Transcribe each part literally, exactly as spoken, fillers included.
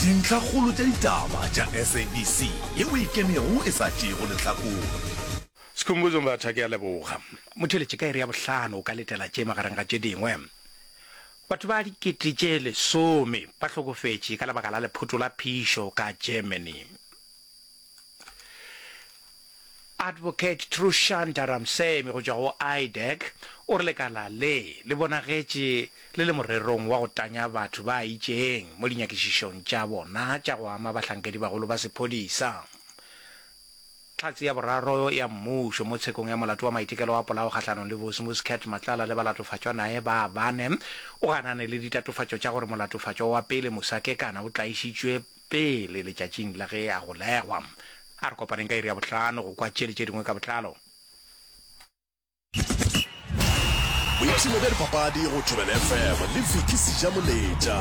Dintlhakgolo tša ditaba tša S A B C yeo e kemego e sa tšeego lehlakore. Skhumbuzo Mbatha, Ke a leboga. Motheeletši, ka iri ya bohlano o ka letela tše magareng ga tše dingwe. Batho ba dikete tše lesome ba hlokofetše ka lebaka la lephoto la phišo ka Germany. Advocate Trushanta Ramsamy go tšwa go I D E C o re lekala le le bonagetše le le morerong wa go tanya batho ba itšeng mo dinyakišišong tša bona tša go ama bahlankedibagolo ba sephodisa. Hlatse ya boraro ya mmušo mo tshekong ya molato wa maitekelo a polao kgahlanong le Vusimuzi Cat Matlala le balatofatšwa naye ba bane o ganane le ditatofatšo tša gore molatofatšwa wa pele Musa Kekana o tlaišitšwe pele letšatšing la ge a golegwa. A re kopaneng ka iri ya bohlano go kwa tše le tše dingwe ka botlalo. Boipshino bja dipapadi go Thobela F M le Vicky Sejamoletša.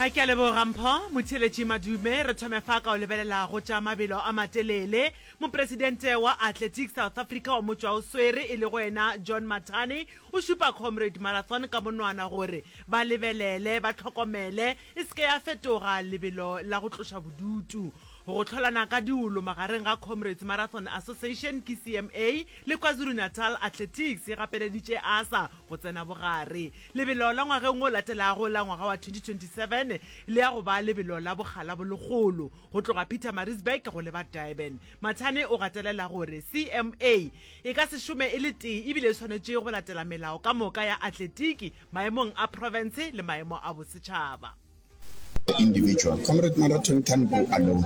Ke a leboga Mpho. Motheeletši Madume, re thome fa ka o lebelela go tša mabelo a matelele. Mopresidente wa Athletics South Africa wa motšwaoswere e lego yena John Mathane o šupa Comrade Marathon ka monwana gore ba lebelele ba hlokomele e se ke ya fetoga lebelo la go tloša bodutu. Go hlolana ka diolo magareng ga Comrades Marathon Association ke C M A le KwaZulu-Natal Athletics e gapeleditše A S A go tsena bogare. Lebelo la ngwageng o latelago la ngwaga wa twenty twenty-seven le ya go ba lebelo la bokgala bo legolo go tloga Pietermaritzburg go leba Durban. Mathane o gatelela gore C M A e ka se šome e le tee ebile e swanetše go latela melao ka moka ya atletiki maemong a province le maemo a bosetšhaba. Individual. Comrade Marathon can't go alone.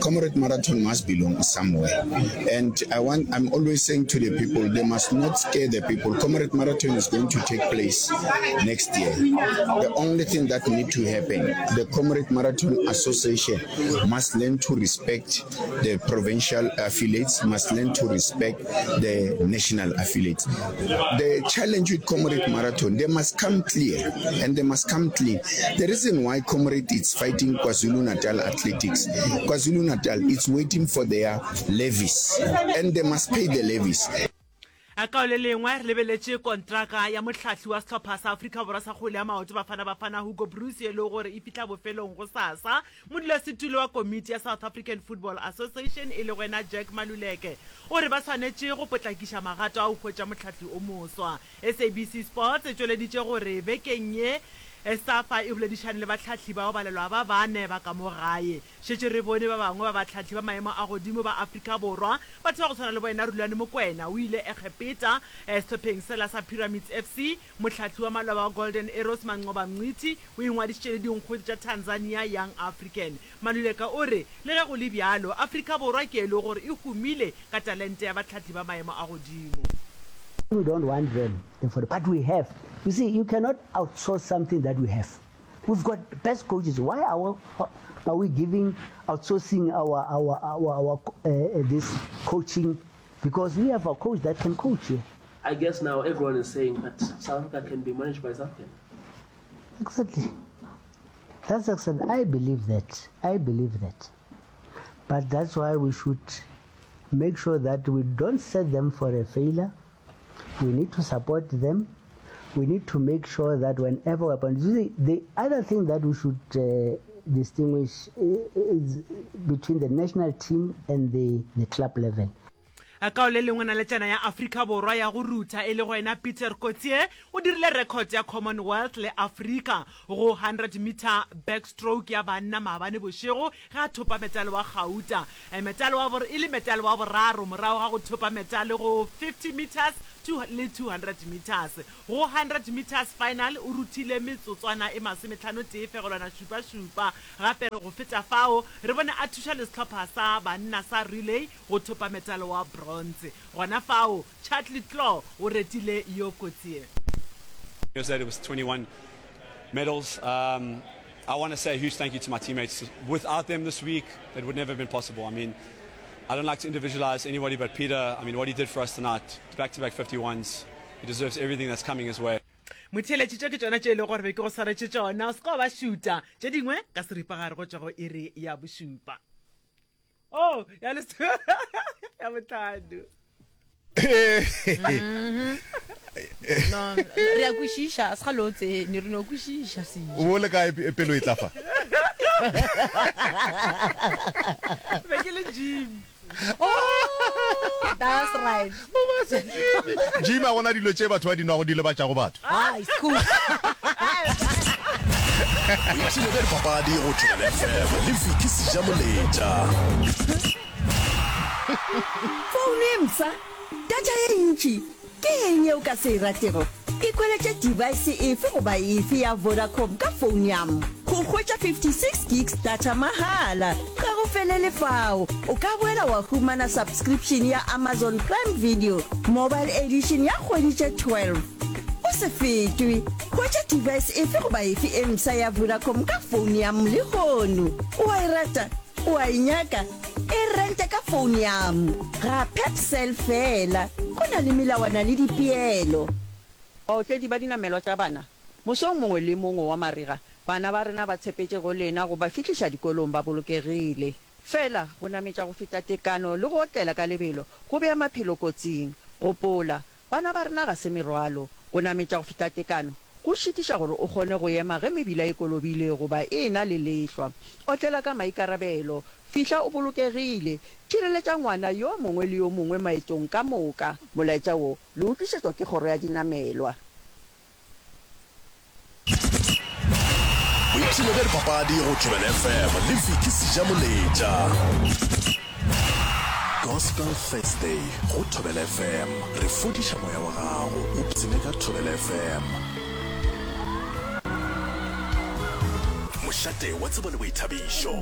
Comrade Marathon must belong somewhere. And I want, I'm always saying to the people, they must not scare the people. Comrade Marathon is going to take place next year. The only thing that need to happen, the Comrade Marathon Association must learn to respect the provincial affiliates, must learn to respect the national affiliates. The challenge with Comrade Marathon, they must come clear and they must come clean. The reason why Comrade is fighting KwaZulu-Natal Athletics, KwaZulu-Natal is waiting for their levies and they must pay the levies. Ka le lengwe re lebeletše kontraka ya mohlahli wa sehlopha sa Afrika Borwa sa kgwele ya maoto Bafana Bafana Hugo Broos e le gore e fihla bofelong go sasa. Modulasetulo wa komiti ya South African Football Association e le wena Jack Maluleke o re ba swanetše go potlakiša magato a go hwetša mohlahli o moswa. S A B C Sports e tšweleditše gore bekeng ye SAFA e boledišane le bahlahli bao balelwa ba bane ba ka mo gae. Šetše re bone ba bangwe ba bahlahli ba maemo a godimo ba Afrika Borwa, batho ba go tshwana le boena Rulani Mokwena o ile Egepeta sehlopheng sela sa Pyramids F C. Mohlahli wa maloba wa Golden Arrows Manqoba Mngqithi o ingwadišitše le dinkgwete tša Tanzania Young African. Maluleka o re le ge go le bjalo Afrika Borwa ke e le gore e humile ka talente ya bahlahli ba maemo a godimo. We don't want them, but we have. You see, you cannot outsource something that we have. We've got best coaches. Why are we, are we giving outsourcing our our our, our uh, this coaching? Because we have a coach that can coach here. I guess now everyone is saying that South Africa can be managed by South African. Exactly. That's excellent. I believe that. I believe that. But that's why we should make sure that we don't set them for a failure. We need to support them. We need to make sure that whenever we appoint, you see, the other thing that we should uh, distinguish is between the national team and the, the club level. Ka le lengwe naletšana ya Afrika Borwa ya go rutha e le go ena Peter Coetzee o dirile record ya Commonwealth le Afrika go hundred meter backstroke ya banna maabane bošego ge a thopa metale wa gauta, metale wa e le metale wa boraro morago ga go thopa metale go fifty meters le two hundred meters. Go hundred meters final o ruthile metsotswana e masometlhano tee fegelwana šupa šupa. Gape go feta fao re bone a thuša le sehlopha sa banna sa relay go thopa metale wa bronze. Gona fao Charlie Claw o retile yo Coetzee. Said it was twenty-one medals. Um, I want to say a huge thank you to my teammates. Without them this week, it would never have been possible. I mean, I don't like to individualize anybody, but Peter, I mean, what he did for us tonight, back-to-back fifty-ones, he deserves everything that's coming his way. Motheeletši, tše ke tšona tše e lego gore be ke go swaretše tšona. O se ka wa ba šuta tše dingwe ka seripagare go tšwa go iri ya bošupa o oh, ya les ya botlhano. No, re a kwešiša, se ga lo tsene, re no kwešiša se. O bo le kae pelo e tla fa? Be ke le gym. That's right. Gym a gona dilo tše batho ba di nwago di lebatšago batho. Ah, it's cool. Boipshino bja dipapadi go Thobela F M le Vicky Sejamoletša. Founu e mpsha, data ye ntši, ke eng ye o ka se e ratego? Ikhweletše device efe goba efe ya Vodacom ka founu ya m go hwetša fifty six gigs data mahala. Ga go felele fao, o ka boela wa humana subscription ya Amazon Prime Video Mobile Edition ya kgwedi tše twelve. O se fetwe! Hwetša device efe goba efe e mpsha ya Vodacom ka founu ya m lehono. O a e rata? O a e nyaka? E rente ka founu ya m ga Pepcell feela. Go na le melawana le dipeelo. Baotledi ba dinamelwa tša bana, mosong mongwe le mongwe wa marega, bana ba rena ba tshepetše go lena go ba fihliša dikolong ba bolokegile. Fela, go nametša go feta tekano le go otlela ka lebelo go bea maphelo kotsing. Gopola, bana ba rena ga se merwalo. Go nametša go feta tekano go šitiša gore o kgone go ema ge mebila e kolobile goba e e-na le lehlwa. Otlela ka maikarabelo. Fihla o bolokegile. Tšhireletša ngwana yo mongwe le yo mongwe maetong ka moka. Molaetša wo le o tlišetšwa ke Kgoro ya Dinamelwa. Boipshino bja dipapadi go Thobela F M le Vicky Sejamoletša. Gospel Thursday go Thobela F M. Re fodiša moya wa gago o pshine ka Thobela F M. Mošate wa tsebo le boithabišo.